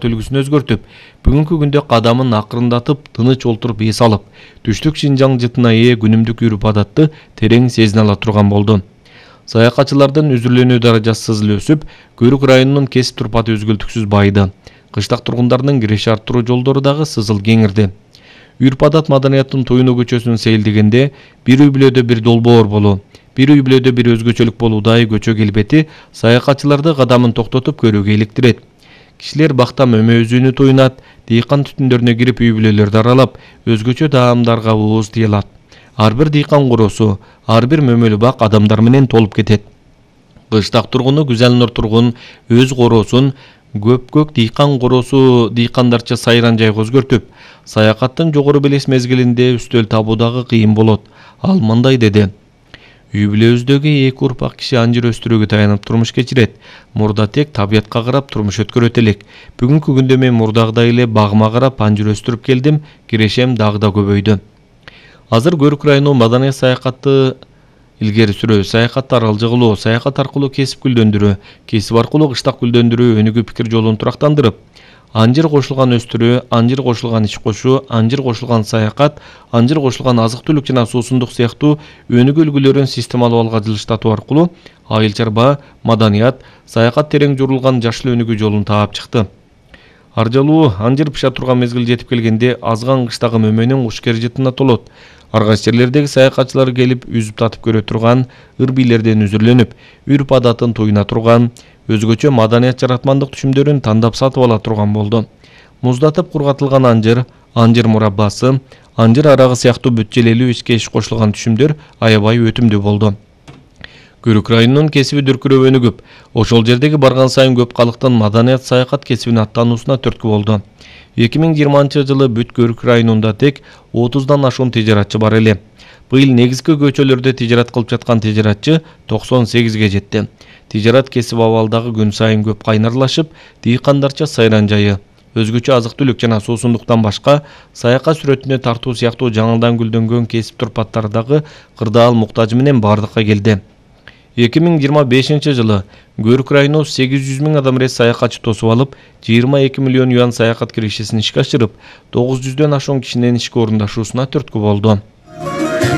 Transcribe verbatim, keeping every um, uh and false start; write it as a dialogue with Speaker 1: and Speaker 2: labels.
Speaker 1: үлгүсүн өзгөртүп, бүгүнкү күндө кадамын акырындатып, тыныч олтуруп эс алып, түштүк Шинжаң жытына ээ күнүмдүк үрүп адатты терең сезине ала турган болду. Саякатчылардын үзүрлөнүү даражасы сызыл өсүп, Көрүк районунун кесип турпаты өзгөлтүксүз байыды. Кыштак тургундардын киреше арттыруу жолдору дагы сызыл кеңирди. Үрп адат маданияттын Туйну көчөсүн сейилдегенде бир үй бүлөдө бир долбоор болуу, бир үй бүлөдө бир өзгөчөлүк болуудагы көчө келбети саякатчыларды кадамын токтотуп көрүүгө иликтирет. Кишилер бакта мөмө туйнат, дыйкан түтүндөрүнө кирип үй бүлөлөрдү аралап, өзгөчө таамдарга ууз тыйылат. Ар бир дыйкан коросу, ар бир мөмөлүү бак адамдар менен толуп кетет. Кыштак тургуну Гүзелнур тургун өз коросун көпкөк дыйкан коросу дыйкандарча сайран жайга өзгөртүп, саякаттын жогору белес мезгилинде үстөл табуу дагы кыйын болот. Ал мындай деди: Үй бүлөбүздөгү эки урпак киши анжыр өстүрүүгө таянып турмуш кечирет. Мурда тек табиятка карап турмуш өткөрөт элек. Бүгүнкү күндө мен мурдагыдай эле багыма карап анжыр өстүрүп келдим, кирешем дагы да көбөйдү. Азыр Көрүк району маданий саякатты илгери сүрүү, саякатты аралжы кылуу, саякат аркылуу кесип гүлдөндүрүү, кесип аркылуу кыштак гүлдөндүрүү өнүгүү пикир жолун турактандырып, анжыр кошулган өстүрүү, анжыр кошулган ич кошуу, анжыр кошулган саякат, анжыр кошулган азык-түлүк жана суусундук сыяктуу өнүгүү үлгүлөрүн системалуу алга жылыштатуу аркылуу айыл чарба, маданият, саякат терең журулган жашыл өнүгүү жолун таап чыкты. Аржалуу анжыр пыша турган мезгил жетип келгенде азган кыштагы мөмөнүн кушкер жытына толот. Ар кайсы жерлердеги саякатчылар келип үзүп татып көрө турган ыр бийлерден үзүрлөнүп, үрп адатын туйна турган, өзгөчө маданият жаратмандык түшүмдөрүн тандап сатып ала турган болду. Муздатып кургатылган анжыр, анжыр мураббасы, анжыр арагы сыяктуу бүт желелүү ичке иш кошулган түшүмдөр аябай өтүмдүү болду. Көрүк районунун кесиби дүркүрөп өнүгүп, ошол жердеги барган сайын көп калктын маданият саякат кесибине аттануусуна түрткү болду. эки миң жыйырманчы жылы бүт Көрүк районунда тек отуздан ашуун тижаратчы бар эле. Быйыл негизги көчөлөрдө тижарат кылып жаткан тижаратчы токсон сегизге жетти. Тижарат кесип абалдагы күн сайын көп кайнарлашып, дыйкандарча сайран жайы, өзгөчө азык-түлүк жана суусундуктан башка саякат сүрөтүнө тартуу сыяктуу жаңыдан гүлдөнгөн кесип турпаттардагы кырдаал муктажы менен бардыкка келди. эки миң жыйырма бешинчи жылы Көрүк району сегиз жүз миң адам рес саякатчы тосуп алып, жыйырма эки миллион юан саякат кирешесин ишке ашырып, тогуз жүздөн ашуун кишинин ишке орундашуусуна түрткү болду.